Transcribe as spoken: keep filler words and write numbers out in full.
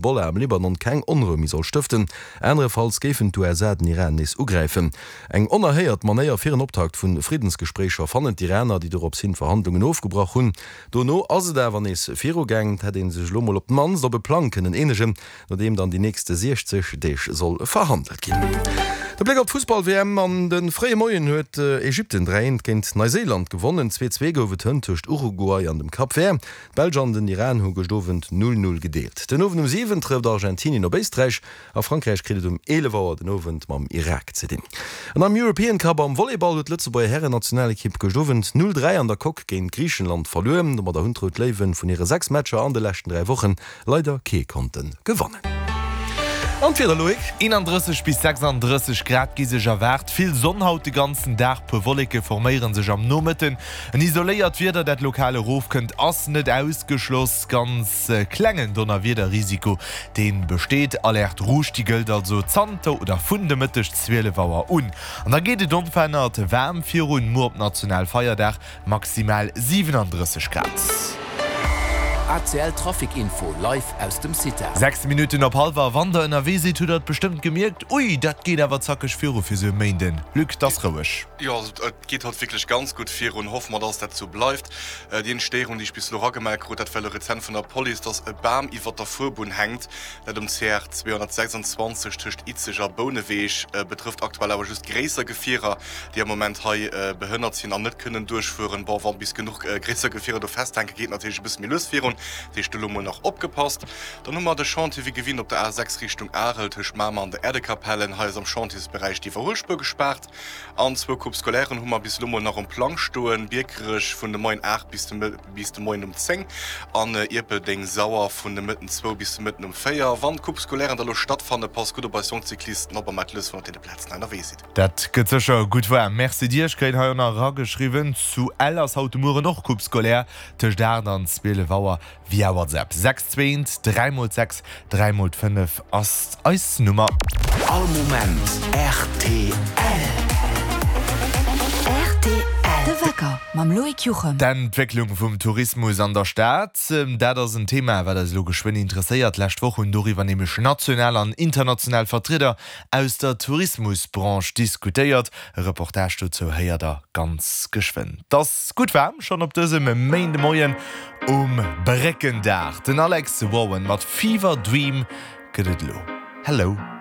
Hezbollah am Libanon keng Onrou méi soll stëften, anerefalls géifen d'USA den Iran nees ugräifen. Eng onerhéiert Manéier fir en Optakt vu Friddensgespréicher, fannen d'Iraner, déi dorops hin d'Verhandlungen ofgebrach hunn. Dono ass et awer nees virugaangen, et hätt ee sech elo mol op d'mannst op e Plang kënnen eenegen, no deem dann déi nächste siechzeg Deeg soll verhandelt ginn. De Bléck op d'Fussball-WM, An de fréie Moien huet Ägypten dräi eent géint Neuséiland gewonnen. Zwee zwee gouf et hënt tëscht Uruguay an dem Cap Vert. D'Belsch an den Iran hu gëscht Owend null null gedeelt. Den Owend um siwen trëfft Argentinien op Éisträich a Frankräich kritt et um eelef Auer den Owend mam Irak ze dinn. An am European Cup am Volleyball huet d'Lëtzebuerger Hären-Nationalekipp gëscht Owend null dräi an der Coque géint Griichenland verluer. Domadder hunn d'Rout Léiwen vun hire sechs Matcher an de leschten dräi Wochen leider kee konnte gewannen. An d'Wieder, Loïc? eenandrësseg bis sechsandrësseg Grad gi sech erwaart. Vill Sonn haut de ganzen Dag, puer Wolleke forméiere sech am Nomëtten. En isoléiert Wieder, dat lokal erofkënnt, ass net ausgeschloss. Ganz klengen Donnerwiederrisiko, dee besteet. Alerte rouge, déi gëllt also zanter oder vun de Mëtteg zwielef Auer un. An da geet et onverännert waarm virun, muer op Nationalfeierdag maximal siwenandrësseg Grad. A C L Trafic Info live aus dem CITA. Sechs Minutten op hallwer. Wann der ënnerwee sidd, hutt der et bestëmmt gemierkt, Ui, dat geet awer zackeg viru fir sou e Méinden. Luc, 't ass roueg. Jo, et geet haut wierklech ganz gutt virun. Hoffe mer, dass dat sou bleift. Déi eenzeg Stéierung, déi ech bis elo eragemellt krut, dat war elo rezent vun der Police, dass e Bam iwwert der Fuerbunn hänkt, dat um C R zweehonnertsechsundzwanzeg tëscht Izeg a Bouneweg. Betrëfft aktuell awer just gréisser Gefierer, déi am Moment hei behënnert sinn an net kënnen duerchfueren. Bon, wa bis genuch gréisser Gefierer do festhänken, geet natierlech e bësse méi lues virun. Dat heescht, elo mol nach opgepasst. Dann hu mer de Chantier wéi gewinnt op der A sechs Richtung Arel tëscht Mamer an der Erdekapellen. Hei ass am Chantiersberäich d'Iwwerhuelspuer gespaart. An zwou Coupes scolairen hu mer bis elo mol nach um Plang stoen, Biekerech vun de Moien aacht bis de bis de Moien um zéng an Ierpeldeng-Sauer vun de Mëtten zwou bis de Mëtten um véier. Wann d'Coupes scolairen da lo stattfannen, passt gutt op eis jonk Cyclisten op a maacht lues, wann der op deene Plazen ënnerwee sidd. Dat gëtt sécher gutt waarm. Merci dir. Ech kréien hei och nach erageschriwwen, zu Ell ass haut de Mueren och Coupe scolaire tëscht aacht an zwielef Auer via WhatsApp. Sechs zwee eent dräi mol sechs dräi mol fënnef ass eis Nummer. All Moment rtl. Rtl, De Wecker mam Loïc Juchem. D'Entwécklung vum Tourismus an der Stad, dat ass en Thema, wat eis elo geschwënn interesséiert. D'lescht Woch hunn doriwwer nämlech national an international Vertrieder aus der Tourismusbranche diskutéiert. E Reportage dozou héiert der ganz geschwënn. 't ass gutt waarm schonn op dësem Méindemoien um Bréckendag. Den Alex Warren mat Fever Dream gëtt et elo. Hello.